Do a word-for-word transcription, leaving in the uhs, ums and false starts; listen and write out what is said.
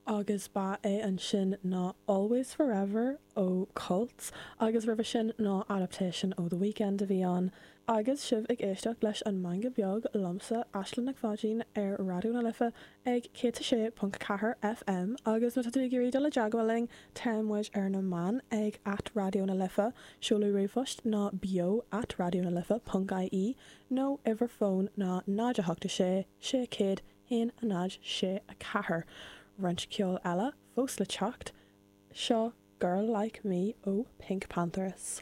Agus ba é ansin ná Always Forever ó Cults agus roimhe sin ná Adaptation ó The Weeknd a bhí ann. Agus sibh ag éisteacht leis an Meangadh Beag liomsa Aislinn Nic Pháidín ar Raidió na Life ag céad a sé ponc ceathair FM agus má tá tú ag iarraidh dul i dteagmháil linn tá muid ar na meáin ag at Raidió na Life, seoladh ríomhphoist ná beo at raidió na life ponc ie nó uimhir fóin ná náid a hocht a sé sé céad haon a náid sé a ceathair. Roinnt ceoil eile fós le teacht, seo Girl Like Me ó PinkPantheress.